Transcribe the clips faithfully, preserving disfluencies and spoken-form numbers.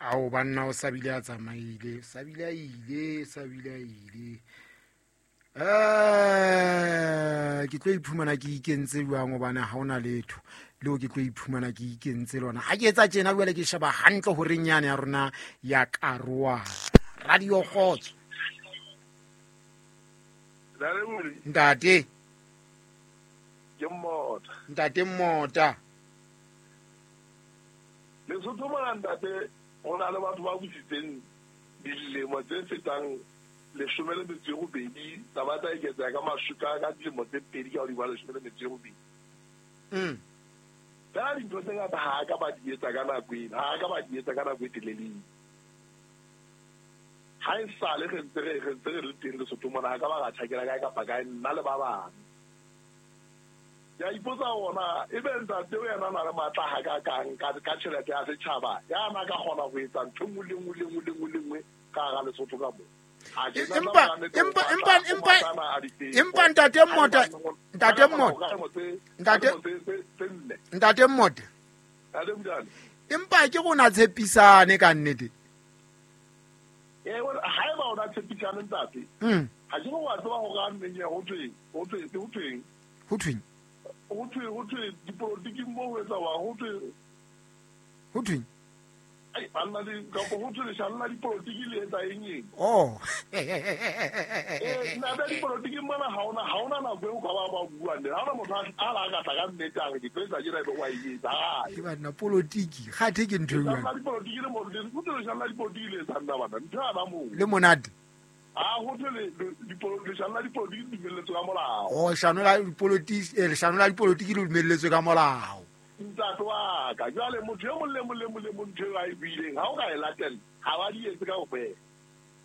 Ao banna o sabile a tsamaile, sabile a ile, sabile a ile. Eh ke tlo iphumana ke ikentse jwang hobane ha hona letho leo ke tlo iphumana ke ikentse lona. Ha ke etsa tjena jwale ke sheba hantle hore nyane ya rona ya Karoa. Radio Kgotso. Ntate. Ke Mmota. Ntate Mmota. Lesotho mona ntate ho na le batho ba busitseng dilemo tse fetang leshome le metso e robedi, taba tsa eketseha ka mashuka ka dilemo tse pedi ka hodima leshome le metso e robedi. Mm. Fela dintho tse ngata ha ka ba di etsa ka nako ena, ha ka ba di etsa ka nako e telele. Ha e sale re ntse re re ntse re le teng Lesotho mona, ha ka ba ra tjhakela kae kapa kae nna le ba bang. Ke a ipotsa hore ebe ntate o yena a na le matla ha ka kang ka ka tjhelete ya setjhaba, ya na ka kgona ho etsa ntho e nngwe le nngwe le nngwe le nngwe le nngwe ka hara Lesotho ka moo. Empa empa empa empa empa ntate Mmota, ntate Mmota, ntate ntate Mmota. Empa ke rona tshepisane ka nnete. Eh ha eba ona tshepisane ntate. Mm. Ha ke go wa tseba hore a nneng ya ho thweng, ho thweng, ho thweng. Ho thweng. Ho thwe, ho thwe dipolotiki mo ho etsa wa ho thwe. Ho thweng. Ai banna di ka ho thwe leshano la dipolotiki le etsa eng eng. Oh. Eh nna ba dipolotiki mona ha ona ha ona nako eo ka ba ba buang le. Ha ona motho a la ka tla ka nnete a re ke tlo etsa tjena ebe wa e etsa. Ke banna polotiki, kgathe ke ntho e jwang. La dipolotiki le mo le ho thwe leshano la dipolotiki le etsa nna bana. Ntho ya ba moo. Le monate. Ah ho thwe le leshano la dipolotiki le dumelletswe ka molao. Oh leshano la dipolotiki, eh leshano la dipolotiki le dumelletswe ka molao. Ntate wa ka jwale motho e mong le mong le mong le mong ntho eo a e buileng ha o ka e latela ha ba di etse kaofela.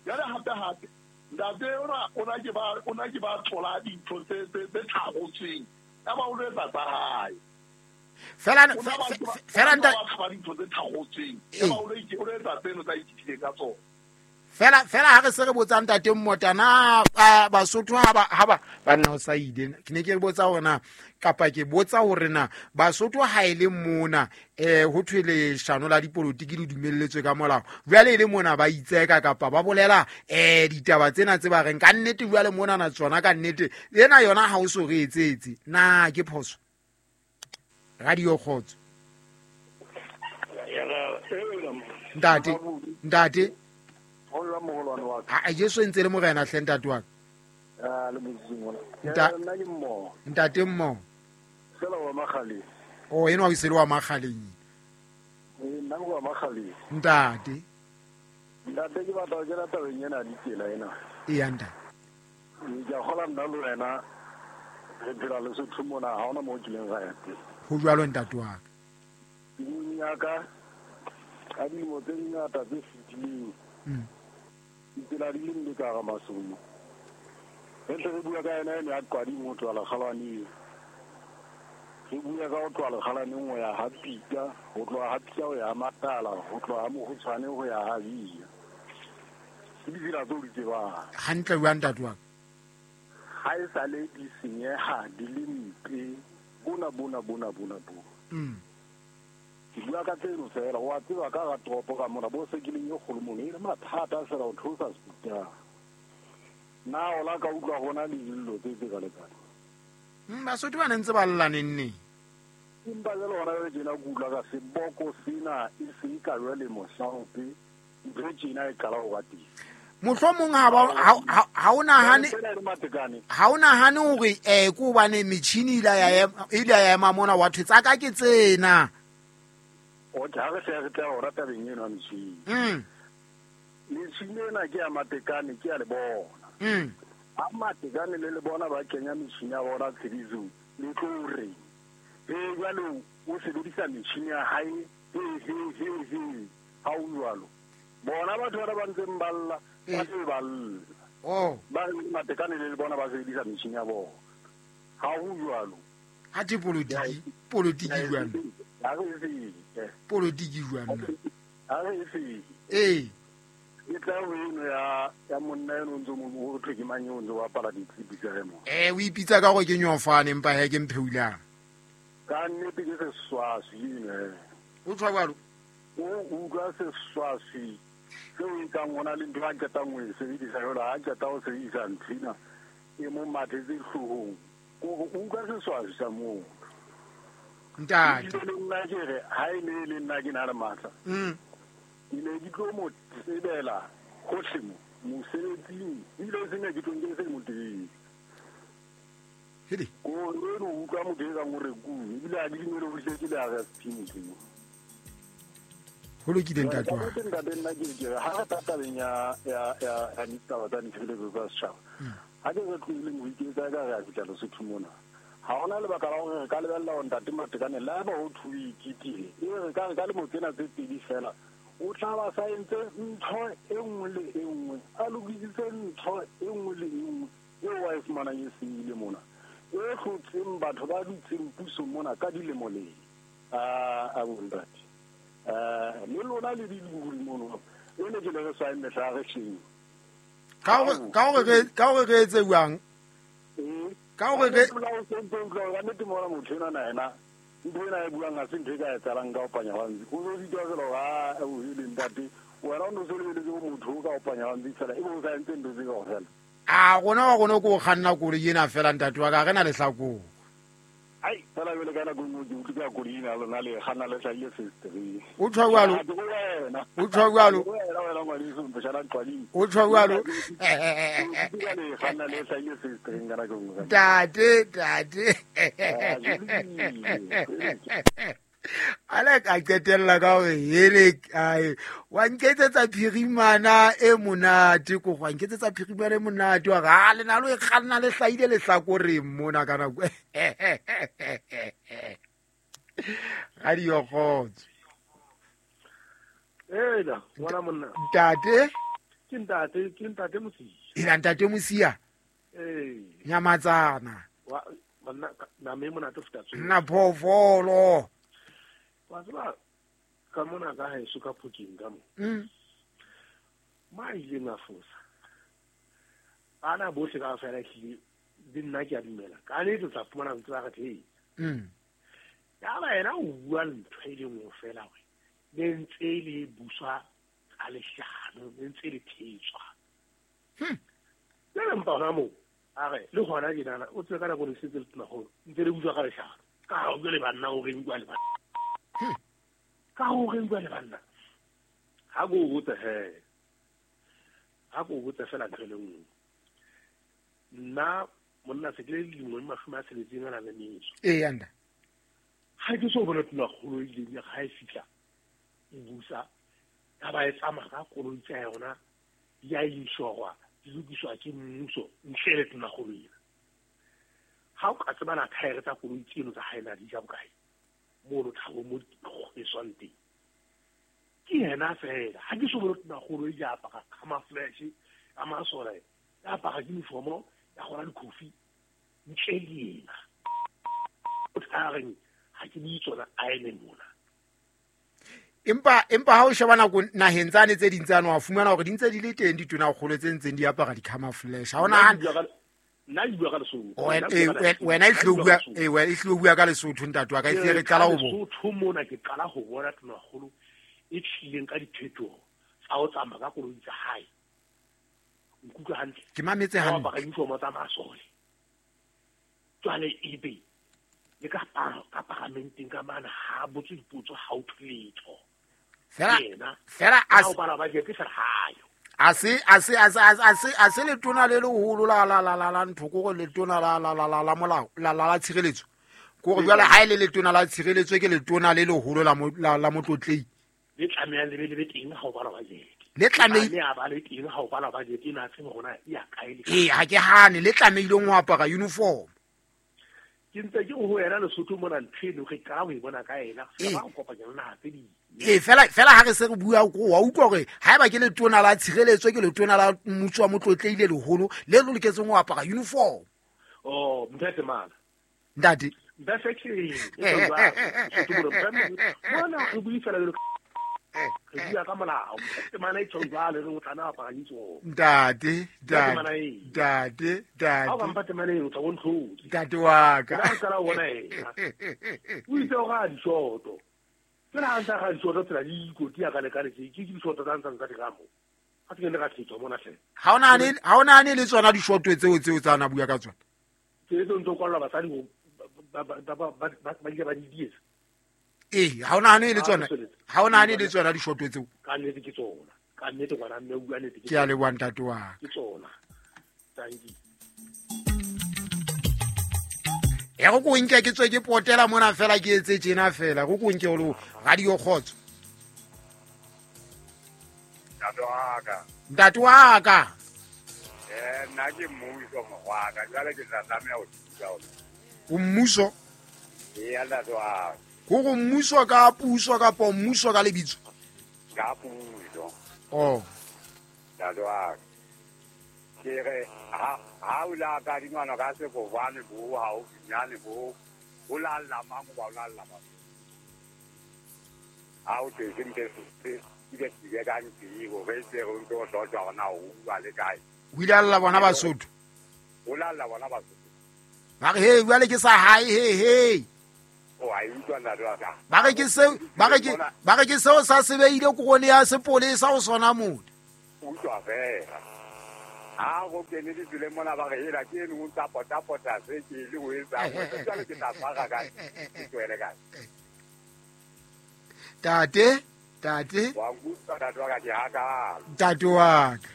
Jwale hape hape ntate ona o na ke ba o na ke ba thola dintho tse tse tse tharotsweng ya ba o lo etsa tsa hae. Fela fela ntate ba dintho tse tharotsweng ya ba o lo o lo etsa tseno tsa ithutile ka tsona. Fela fela ha re se re botsa ntate Mmota na Basotho ha ba ha ba banna o sa ile ke ne ke botsa hore na kapa ke botsa hore na Basotho ha ile mona eh ho thwe leshano la dipolotiki le dumelletswe ka molao jwale ile mona ba itseka kapa ba bolela eh ditaba tsena tse ba reng ka nnete jwale mona na tsona ka nnete ena yona ha o so re etsetse na ke phoso. Radio Kgotso. Ntate ntate a Jesu ntse le morena hle ntate wa ka. Ah le modimo. Nna ke mmo. Ntate mmo. Sela wa Makgaleng. Oh eno wa sele wa Makgaleng. Eh nna wa Makgaleng. Ntate. Ntate ke batla ke rata tabeng ena ditsela ena. E ya ntate. Ke a kgola nna le wena re phela Lesotho mona ha hona mo kileng ra ya teng. Ho jwalo ntate wa ka. Nyaka ka dilemo tse ngata tse fetileng. Mm. Ditsela di le mpe ka hara masomo. Re ntse re bua ka yena ene ya Qwading ho tloha Lekgalwaneng. Re bua ka ho tloha Lekgalwaneng ho ya ha Pika, ho tloha ha Pika ho ya Matala, ho tloha ha Mokgotshwane ho ya ha Bia. Ke ditsela tseo di tsebang. Hantle jwang ntate wa ka? Ha e sale di senyeha di le mpe bona bona bona bona bona. Mm. Ke bua ka tseno fela wa tseba ka ga toropo ka mona bo sekileng e kgolo mono e le mathata fela ho theosa sepitara. Na o la ka utlwa hona le dillo tse tse ka lekana. Mm Basotho ba ne ntse ba lla neng neng. Empa jwale hona jwale tjena ke utlwa ka seboko sena e se ka jwale mohlaope ntho tjena e qala ho ba teng. Mohlomong ha ba ha o nahane ha o nahane hore eh ke hobane metjhini ile ya ile ya ema mona wa thwe tsa ka ke tsena. O tla re se re tla hora tabeng eno ya metjhini. Mm. Metjhini ena ke ya Matekane ke ya le bona. Mm. Ha Matekane le le bona ba kenya metjhini ya bona tshebetsong le tlo re eh jwale o sebedisa metjhini ya hae he he he he ha o jwalo. Bona batho ba ba ntseng ba lla ba se ba lla. Oh. Ba Matekane le le bona ba sebedisa metjhini ya bona. Ha o jwalo. Ha ke polotiki, polotiki jwang? Ha re se. Polotiki jwang? Ha re se. Eh. Ke tla ho eno ya ya monna eno ntse mo ho thwe ke mang eo ntse wa apara ditshipi tsa mo. Eh o ipitsa ka hore ke nyofane empa he ke mpheulang. Ka nnete ke seswaswi eno. O tshwa jwalo? O utlwa seswaswi seo e kang ho na le ntho a qetang ho e sebedisa jwale ha qeta ho sebedisa nthwena e mo mathetse hloohong. Ko utlwa seswaswi sa moo. Ntate. Le nna ke re ha e ne le nna ke na le matla. Mm. Ke ne ke tlo mo tsebela hohle mo mosebetsing ebile se ne ke tlo nke se mo teng. Hedi. Ko re no utlwa motho e kang o re ku ebile a di dumele ho hle ke le R S P motho. Ho lokile ntate wa. Ntate ntate nna ke ke ha re tabeng ya ya ya ya ditaba tsa ditshebeletso tsa setjhaba. Ha ke re tlohileng ho iketsa ka re a fihla Lesotho mona. Ha hona lebaka la hore re ka lebella hore ntate Matekane le haeba ho thwe o iketile, e re ka re ka lemo tsena tse pedi fela o tla ba sa entse ntho e nngwe le e nngwe, a lokisitse ntho e nngwe le e nngwe eo wa e fumanang e senyehile mona, e hlotseng batho ba dutseng puso mona ka dilemo le a a bontate. Eh le lona le diliburi mono e ne ke le re sa mehla re hleng. Ka hore ka hore re ka hore re etse jwang? Ka hore re ka nnete mona motho ena na ena ntho ena e buang ha se ntho e ka etsahalang ka ho panya hantsi. O so sitwa fela hore ha o ile ntate wena o no so lebeletse ho motho o ka ho panya hantsi fela ebe o sa entse ntho tse kaofela. A rona wa rona ke o kganna koloi ena fela ntate wa ka re na lehlakore. Ai fela jwale ka nako e nngwe ke utlwe ka koloi ena lona le kganna le hlahile fesetereng. O tjho jwalo. O tjho jwalo. Wena wena ngwaneso Mposhana Qwading. O tjho jwalo. Ke le kganna le hlahile fesetereng ka nako e nngwe. Ntate, ntate. Ala ka qetella ka hore hele ai wa nketsetsa phirimana e monate ko wa nketsetsa phirimana e monate wa ha le na lo e kganna le hlahile lehlakoreng mona ka nako. Radio Kgotso. Ela ngwana monna. Ntate. Ke ntate, ke ntate Mosia. Ela ntate Mosia. Eh. Nyamatsana. Wa monna na me monate futa tsohle. Nna phoofolo. Wa tseba ka mona ka haeso ka Phokeng ka mo. Mm. Ma ileng a fosa. Bana bohle ka fela ehlile le nna ke a dumela. Ka nnete o tla fumana ntse ba re hey. Mm. Ya ba yena o bua ntho e le nngwe fela hore le ntse le buswa ka leshano, le ntse le thetswa. Hmm. Le mpa hona moo a re le hona tjenana o tsebe ka nako le setse le tonakgolo ntse le buswa ka leshano. Ka ho le banna o reng bua le banna. Hmm. Ka ho reng bua le banna. Ha go botse he. Ha go botse fela ntho e le nngwe. Nna monna se ke le dilemo di mashome a tsheletseng a nang le metso. Ee anda. Ha ke so bona tonakgolo e ileng ya ha e fihla e busa ya ba e tsamaya ka koloi tsa yona di a inshorwa di lokiswa ke mmuso ntle le tonakgolo ena. Ha o ka tsebana thaere tsa koloi tseno tsa hae na di ja bokae mono thabo mo e swang teng. Ke yena fela ha ke so bone tonakgolo e ja apara camouflage a masole ya apara uniform ya gona dikofi ntle le yena. O tla reng ha ke bue tsona a eme mona. Empa empa ha o sheba nako naheng tsane tse ding tsane wa fumana hore di ntse di le teng ditonakgolo tse ntseng di apara di-camouflage. Ha ona nna ke bua ka Lesotho. Wena e hlilo bua eh wena e hlilo bua ka Lesotho ntate wa ka e hlile re qala ho bona. Lesotho mona ke qala ho bona tonakgolo e tlileng ka diphetoho tsa ho tsamaya ka koloi tsa hae. Nkutlwa hantle. Ke mametse hantle. Ba apara uniform tsa masole. Jwale ebe le ka ka paramenteng ka mana ha botse dipotso ha o thwe letho. Fela fela a o bala budget fela hayo. A se a se a se a se a se letona le leholo la la la la la ntho ko gore letona la la la la la molao la la la tshireletso. Ko gore jwale ha ile letona la tshireletso ke letona le leholo la la la motlotlei. Le tlamehang le be le be teng ha o bala budget. Le tlamehile a ba le teng ha o bala budget ena tsebe rona ya kae le. Eh ha ke hane le tlamehileng ho apara uniform. Ke ntse ke ho yena Lesotho mona ntho eno re qala ho e bona ka yena re ba kopanya le naha tse ding. Eh fela fela ha re se re bua ko wa utlwa hore haeba ke letona la tshireletso ke letona la mmuso wa motlotleile leholo le le loketseng ho apara uniform. Oh ntate mana. Ntate. Ntate ke mona re bua fela jalo re bua ka molao temana e tjho jwale re o tla apara uniform. Ntate, ntate, ntate, ntate. Ha o ka mpa temana eno o tla bona tlhodi. Ntate wa ka. Nna qala ho bona yena. O itse o ra dishoto. Ke Tsena ha ntsa ga disoto tsela di ikoti ya ka le ka le ke ke disoto tsa ntsang tsa diramo. Ha ke ne ka thetswa mona hle. Ha ona ne ha ona ne le tsona dishoto tseo tseo tsa na bua ka tsona. Ke tso ntso kwalla basadi go ba ba ba ba ba ile ba di dietsa. Eh, ha ona ne le tsona. Ha ona ne le tsona dishoto tseo. Ka nnete ke tsona. Ka nnete ngwana mme o bua nnete ke. Ke a leboha ntate wa ka. Ke tsona. Thank you. E go ko nke ke tswe ke potela mona fela ke etse tjena fela go ko nke o le radio khotso. Ntate wa ka. Ntate wa ka. Eh nna ke mmuso mogwaka jwale ke tla tlameha ho thusa o. O mmuso? Ee ntate wa ka. Go go mmuso ka puso kapa mmuso ka lebitso? Ka puso. Oh. Ntate wa ka. Ke re ha ha o la ka dingwana ka sefofane bo ha o nyane bo o la la mang ba o la la mang. Ha o tse ntse se ke ke ka ntse go re se go ntse o hlotsa ona o bua le kae. O ile alla bona Basotho. O la alla bona Basotho. Ba re he jwale ke sa hae he he. O a utlwa ntate wa ka. Ba re ke seo ba re ke ba re ke seo sa sebeile korone ya sepolesa o sona mona. Utlwa fela. Ha go kene ditseleng mona ba re hela ke eno o ntsa pota pota se ke le o etsa jwale ke tla tshwara kae ke tswele kae. Tate, tate. Wa nkutlwa ntate wa ka ke hakalo. Ntate wa ka.